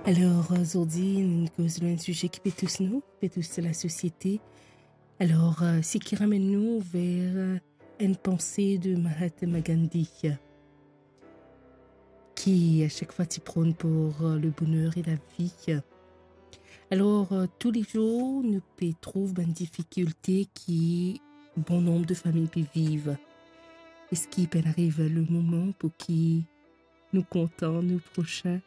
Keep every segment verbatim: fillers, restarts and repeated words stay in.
Alor, zordi, nou koz lor enn size ki pe tous nou, pe tous lasosiete. Alor, seki ramenn nou ver enn panse de Mahatma Gandhi, ki a sak fwa ti pronn pou le boner e lavi. Alor, toulezour, nou pe trouv bann difikilte ki bon nonb de fami pe viv. Eski pa'nn ariv le moman pou ki nou kontan nou prosin,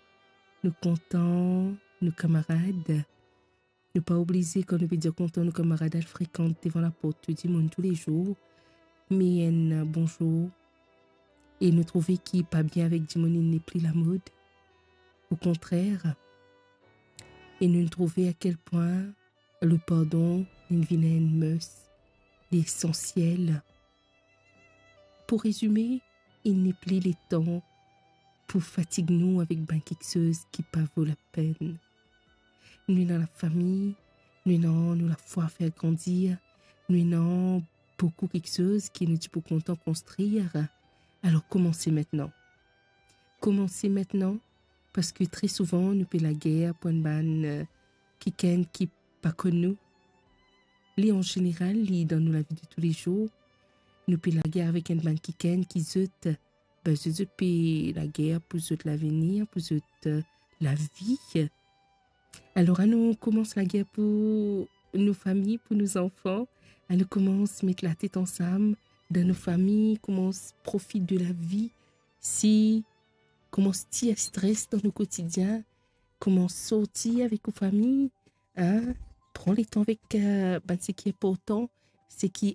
nou kontan nou kamarad? Nou pa oblize, kan nou pe dir kontan nou kamarad, al frekant devan laport dimoun toulezour, me enn bonzour, e nou trouve ki pa bien avek dimoun, li nepli lamod. Okontrer, e nou trouve a kel pwin le pardon inn vinn enn must, li esansiel. Pou rezime, li nepli letan pou fatig nou avek bann kiksoz ki pa vo lapenn. Nou ena lafami, nou ena nou lafwa fer grandir, nou ena boukou kiksoz ki nou ti pou kontan konstrir. Alor, koumanse mintnan. Koumanse mintnan, parski tre souvan nou pe lager pou enn bann, eh, kikenn ki pa konn nou. Li an zeneral, li dan nou lavi de toulezour, nou pe lager avek enn bann kikenn ki zot, be, zot, zot pe lager pou zot lavenir, pou zot, eh, lavi. Alor, anou koumans lager pou nou fami, pou nou zanfan. Anou koumans met latet ansam dan nou fami, koumans profit de lavi, si koumans tir stres dan nou kotidien, koumans sorti avek ou fami, hein, pran letan avek, eh, bann seki inportan, seki